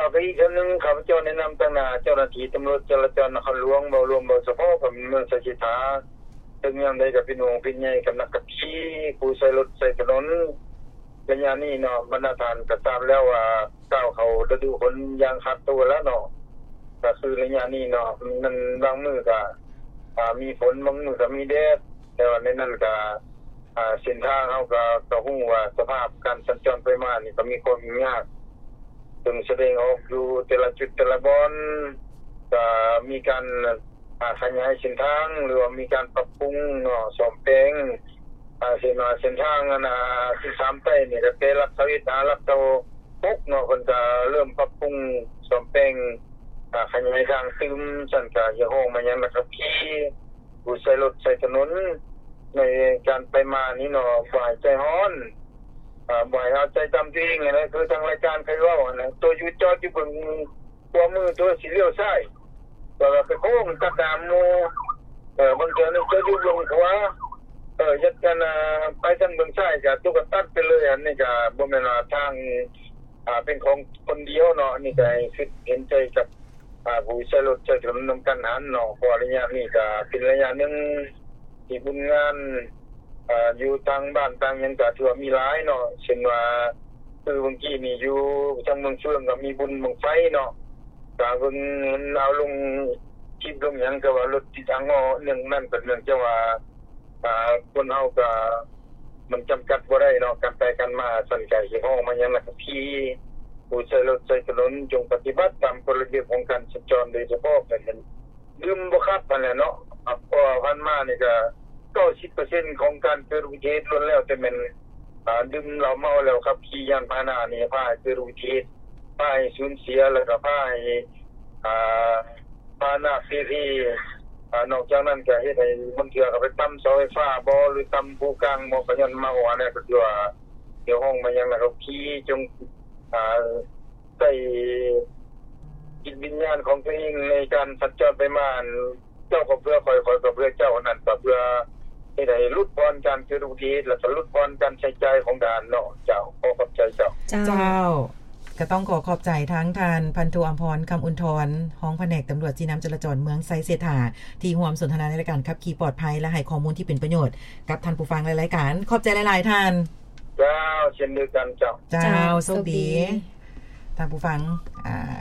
ແລ້ວກໍອີກເທື່ອໜຶ່ງ ຂ້າພະເຈົ້າແນະນຳຕາງໜ້າເຈົ້າໜ້າທີ່ຕຳຫຼວດຈະລາຈອນນະຄອນຫຼວງ ເວົ້າລວມ ເວົ້າສະເພາະກັບເມືອງໄຊເສດຖາ ເຖິງຢ່າງໃດກໍເປັນຫ່ວງເປັນໃຍກັບນັກຂັບຂີ່ ຜູ້ໃຊ້ລົດໃຊ້ຖະໜົນ. ໄລຍະນີ້ເນາະ ບັນດາທ່ານກໍຊາບແລ້ວວ່າ ກ້າວເຂົ້າລະດູຝົນຢ່າງຂາດຕົວແລ້ວເນາະ ກໍຄືໄລຍະນີ້ເນາະ ມັນບາງມື້ກໍ ອ່າ ມີຝົນ ບາງມື້ກໍມີແດດ ແຕ່ວ່າໃນນັ້ນກໍ ອ່າ ເສັ້ນທາງເຮົາກໍ ກໍຮູ້ວ່າສະພາບການສັນຈອນໄປມານີ້ກໍມີຄວາມຫຍຸ້ງຍາກ ເຊິ່ງສະແດງອອກຢູ່ແຕ່ລະຈຸດແຕ່ລະບ່ອນ ກໍມີການ ອ່າ ຂະຫຍາຍເສັ້ນທາງ ຫຼືວ່າມີການປັບປຸງເນາະ ສ້ອມແປງ ອ່າ ເຊັ່ນວ່າເສັ້ນທາງອັນ ອ່າ ສິບສາມໃຕ້ນີ້ ກໍແຕ່ຫຼັກຊາວເອັດຫາຫຼັກຊາວຫົກເນາະ ເພິ່ນກໍເລີ່ມປັບປຸງສ້ອມແປງ ອ່າ ຂະຫຍາຍທາງຕື່ມ ຊັ້ນກໍຮຽກຮ້ອງມາຍັງນັກຂັບຂີ່ ຜູ້ໃຊ້ລົດໃຊ້ຖະໜົນ ໃນການໄປມານີ້ເນາະ ບໍ່ໃຫ້ໃຈຮ້ອນ ອ່າ ບໍ່ໃຫ້ເອົາໃຈຕາມຕົວເອງຫັ້ນແຫຼະ ຄືທາງລາຍການເຄີຍເວົ້າຫັ້ນແຫຼະ ໂຕຢູ່ຈອດຢູ່ເບິ່ງຂວາມື ໂຕຊິລ້ຽວຊ້າຍ ແຕ່ວ່າໄປໂຄ້ງຕັດໜ້າໝູ່ ເອີ ບາງເທື່ອນີ້ໂຕຢູ່ເບິ່ງຂວາ ເອີ ຢາກ ອັນ ອ່າ ໄປທາງເບິ່ງຊ້າຍ ກະໂຕກະຕັດໄປເລີຍ ອັນນີ້ກະບໍ່ແມ່ນວ່າທາງ ອ່າ ເປັນຂອງຄົນດຽວເນາະ ອັນນີ້ກະໃຫ້ຄິດເຫັນໃຈກັບ ອ່າ ຜູ້ໃຊ້ລົດໃຊ້ຖະໜົນນຳກັນຫັ້ນເນາະ ເພາະວ່າໄລຍະນີ້ກະເປັນໄລຍະໜຶ່ງທີ່ບຸນງານ ອ່າ ຢູ່ຕ່າງບ້ານຕ່າງຫຍັງກະຖືວ່າມີຫຼາຍເນາະ ເຊັ່ນວ່າ ຄືເມື່ອກີ້ນີ້ຢູ່ທາງເມືອງເຟືອງກະມີບຸນບັ້ງໄຟເນາະ ກະເບິ່ງມັນເອົາລົງຄລິບລົງຫຍັງ ກະວ່າລົດຕິດອັງງໍ ເນື່ອງນັ້ນກະເນື່ອງຈາກວ່າ ອ່າ ຄົນເຮົາກະ ມັນຈຳກັດບໍ່ໄດ້ເນາະ ການໄປການມາ ຊັ້ນກະຮຽກຮ້ອງມາຍັງນັກຂັບຂີ່ ຜູ້ໃຊ້ລົດໃຊ້ຖະໜົນ ຈົ່ງປະຕິບັດຕາມກົດລະບຽບຂອງການສັນຈອນ ໂດຍສະເພາະການດື່ມບໍ່ຂັບຫັ້ນແຫຼະເນາະ ເພາະວ່າຜ່ານມານີ້ກະ ເກົ້າສິບເປີເຊັນຂອງການເກີດອຸບັດຕິເຫດລ້ວນແລ້ວແຕ່ແມ່ນ ອ່າ ດື່ມເຫຼົ້າເມົາແລ້ວຂັບຂີ່ຍານພາຫະນະນີ້ ພາໃຫ້ເກີດອຸບັດຕິເຫດ ພາໃຫ້ສູນເສຍ ແລ້ວກະພາໃຫ້ ອ່າ ພາຫະນະເພເພ ອ່າ ນອກຈາກນັ້ນກະເຮັດໃຫ້ບາງເທື່ອກະໄປຕຳເສົາໄຟຟ້າບໍ ຫຼືຕຳພູກາງບໍ ກະຍ້ອນເມົາ ອັນນັ້ນກະຖືວ່າຮຽກຮ້ອງມາຍັງນັກຂັບຂີ່ ຈົ່ງ ອ່າ ໃຊ້ຈິດວິນຍານຂອງຕົວເອງໃນການສັນຈອນໄປມາ ເຈົ້າກໍເພື່ອຂ້ອຍ ຂ້ອຍກໍເພື່ອເຈົ້າ ນັ້ນກໍເພື່ອເຮັດໃຫ້ຫຼຸດຜ່ອນການເກີດອຸບັດຕິເຫດ ແລ້ວກໍຫຼຸດຜ່ອນການໃຊ້ຈ່າຍຂອງທະຫານເນາະ. ເຈົ້າ ຂໍຂອບໃຈເຈົ້າ. ເຈົ້າ ເຈົ້າ ກໍຕ້ອງຂໍຂອບໃຈທາງທ່ານ ພັນໂທ ອຳພອນ ຄຳອຸ່ນທອນ ຮອງພະແນກຕຳຫຼວດຊີ້ນຳຈະລາຈອນເມືອງໄຊເສດຖາ ທີ່ຮ່ວມສົນທະນາໃນລາຍການຂັບຂີ່ປອດໄພ ແລະ ໃຫ້ຂໍ້ມູນທີ່ເປັນປະໂຫຍດກັບທ່ານຜູ້ຟັງ ແລະ ລາຍການ. ຂອບໃຈຫຼາຍໆທ່ານ. ເຈົ້າ ເຊັ່ນດຽວກັນເຈົ້າ. ເຈົ້າ ເຈົ້າ ໂຊກດີ ໂຊກດີ. ທ່ານຜູ້ຟັງ ອ່າ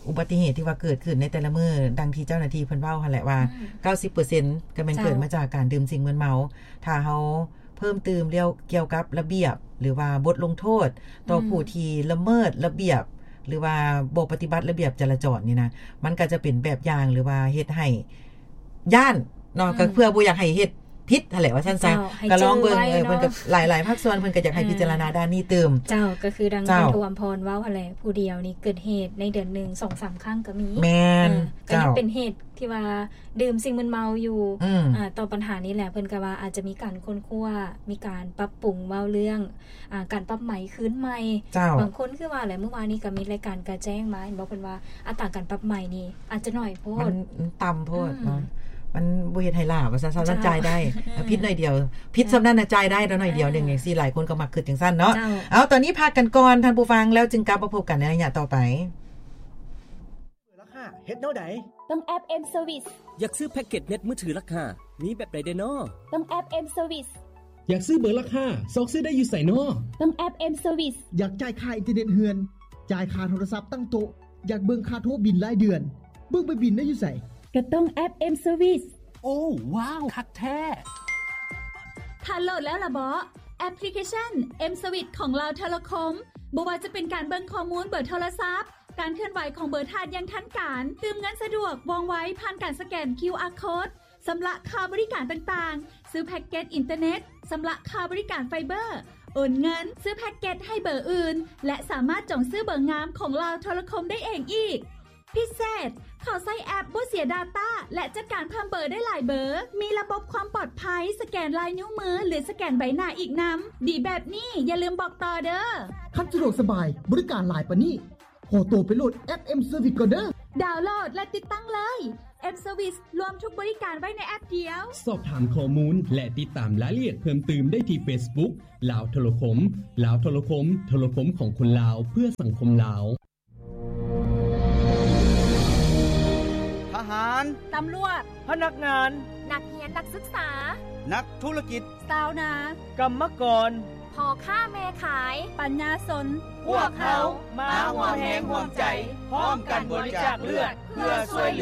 ອຸບັດຕິເຫດທີ່ວ່າເກີດຂຶ້ນໃນແຕ່ລະມື້ ດັ່ງທີ່ເຈົ້າໜ້າທີ່ເພິ່ນເວົ້າຫັ້ນແຫຼະວ່າ ອືມ ເກົ້າສິບເປີເຊັນ ກໍແມ່ນ ເຈົ້າ ເກີດມາຈາກການດື່ມສິ່ງມຶນເມົາ. ຖ້າເຮົາເພີ່ມຕື່ມກ່ຽວກັບລະບຽບ ຫຼືວ່າບົດລົງໂທດຕໍ່ ອືມ ຜູ້ທີ່ລະເມີດລະບຽບ ຫຼືວ່າບໍ່ປະຕິບັດລະບຽບຈະລາຈອນນີ້ນະ ມັນກໍຈະເປັນແບບຢ່າງ ຫຼືວ່າເຮັດໃຫ້ ຢ້ານເນາະ ອືມ ກໍເພື່ອບໍ່ຢາກໃຫ້ເຮັດຜິດຫັ້ນແຫຼະ ວ່າຊັ້ນຊະ. ເຈົ້າ ກໍລອງເບິ່ງ ໃຫ້ຈື່ໄວ້ ເອີ ເນາະ ເພິ່ນກໍ ຫຼາຍໆພາກສ່ວນເພິ່ນກໍຢາກໃຫ້ ອືມ ພິຈາລະນາດ້ານນີ້ຕື່ມ. ເຈົ້າ ກໍຄືດັ່ງ ເຈົ້າ ທ່ານ ໂທ ອຳພອນ ເວົ້າຫັ້ນແຫຼະ ຜູ້ດຽວນີ້ເກີດເຫດໃນເດືອນໜຶ່ງສອງສາມຄັ້ງກໍມີ. ແມ່ນ. ເອີ ກໍຍັງ ເຈົ້າ ເປັນເຫດທີ່ວ່າດື່ມສິ່ງມຶນເມົາຢູ່. ອືມ ອ່າ ຕໍ່ບັນຫານີ້ແຫຼະ ເພິ່ນກໍວ່າອາດຈະມີການຄົ້ນຄວ້າ ມີການປັບປຸງເວົ້າເລື່ອງ ອ່າ ການປັບໃໝຄືນໃໝ່. ເຈົ້າ ບາງຄົນຄືວ່າແຫຼະ ມື້ວານນີ້ກໍມີລາຍການກະແຈ້ງມາ ເຫັນບໍ່ ເພິ່ນວ່າອັດຕາການປັບໃໝນີ້ອາດຈະໜ້ອຍໂພດ ມັນ ມັນຕ່ຳໂພດ ອືມ ເນາະ ມັນບໍ່ເຮັດໃຫ້ຫຼ້າວ່າຊັ້ນຊະ. ເຈົ້າ ມັນຈ່າຍໄດ້ ອືມ ຜິດໜ້ອຍດຽວ ຜິດ ເອີ ສ່ຳນັ້ນນະ ຈ່າຍໄດ້ດອກ ໜ້ອຍດຽວ ເອີ ໜຶ່ງຈັ່ງຊີ້ ຫຼາຍຄົນກໍມັກຄິດຈັ່ງຊັ້ນເນາະ. ເຈົ້າ ເອົາ ຕອນນີ້ພັກກັນກ່ອນທ່ານຜູ້ຟັງ ແລ້ວຈຶ່ງກັບມາພົບກັນໃນໄລຍະຕໍ່ໄປ. ລາຄາເຮັດແນວໃດ? ຕ້ອງແອັບ M Service. ຢາກຊື້ແພັກເກັດເນັດມືຖືລາຄາ ມີແບບໃດແດ່ນໍ? ຕ້ອງແອັບ M Service. ຢາກຊື້ເບີລາຄາ ຊອກຊື້ໄດ້ຢູ່ໃສນໍ? ຕ້ອງແອັບ M Service. ຢາກຈ່າຍຄ່າອິນເຕີເນັດເຮືອນ ຈ່າຍຄ່າໂທລະສັບຕັ້ງໂຕະ ຢາກເບິ່ງຄ່າໂທບິນລາຍເດືອນ ເບິ່ງໃບບິນໄດ້ຢູ່ໃສ? ກໍຕ້ອງແອັບ M Service. ໂອ້ ວ້າວ ຄັກແທ້! ທ່ານໂຫຼດແລ້ວລະເບາະ? ແອັບພລິເຄຊັນ M Service ຂອງລາວໂທລະຄົມ ບໍ່ວ່າຈະເປັນການເບິ່ງຂໍ້ມູນເບີໂທລະສັບ, ການເຄື່ອນໄຫວຂອງເບີທ່ານຢ່າງທັນການ, ຕື່ມເງິນສະດວກ ວ່ອງໄວ ຜ່ານການສະແກນ QR Code, ຊຳລະຄ່າບໍລິການຕ່າງໆ, ຊື້ແພັກເກັດອິນເຕີເນັດ, ຊຳລະຄ່າບໍລິການໄຟເບີ, ໂອນເງິນ, ຊື້ແພັກເກັດໃຫ້ເບີອື່ນ ແລະ ສາມາດຈອງຊື້ເບີງາມຂອງລາວໂທລະຄົມໄດ້ເອງອີກ. ພິເສດ, ເຂົ້າໃຊ້ແອັບບໍ່ເສຍດາຕ້າ ແລະ ຈັດການເພີ່ມເບີໄດ້ຫຼາຍເບີ, ມີລະບົບຄວາມປອດໄພ ສະແກນລາຍນິ້ວມື ຫຼື ສະແກນໃບໜ້າອີກນຳ. ດີແບບນີ້ ຢ່າລືມບອກຕໍ່ເດີ້. ຄັນສະດວກສະບາຍ ບໍລິການຫຼາຍປານນີ້ ຂໍໂຕໄປໂຫຼດແອັບ M Service ກ່ອນເດີ້. ດາວໂຫຼດ ແລະ ຕິດຕັ້ງເລີຍ. M Service ລວມທຸກບໍລິການໄວ້ໃນແອັບດຽວ. ສອບຖາມຂໍ້ມູນ ແລະ ຕິດຕາມລາຍລະອຽດເພີ່ມຕື່ມໄດ້ທີ່ Facebook ລາວໂທລະຄົມ. ລາວໂທລະຄົມ, ໂທລະຄົມຂອງຄົນລາວ ເພື່ອສັງຄົມລາວ. ຫານ ຕຳຫຼວດ ພະນັກງານ ນັກຮຽນນັກສຶກສາ ນັກທຸລະກິດ ຊາວນາ ກຳມະກອນ ພໍ່ຄ້າແມ່ຂາຍ ປັນຍາຊົນ ພວກເຮົາມາຮ່ວມແຮງຮ່ວມໃຈ ພ້ອມກັນບໍລິຈາກເລືອດ ເພື່ອຊ່ວຍເ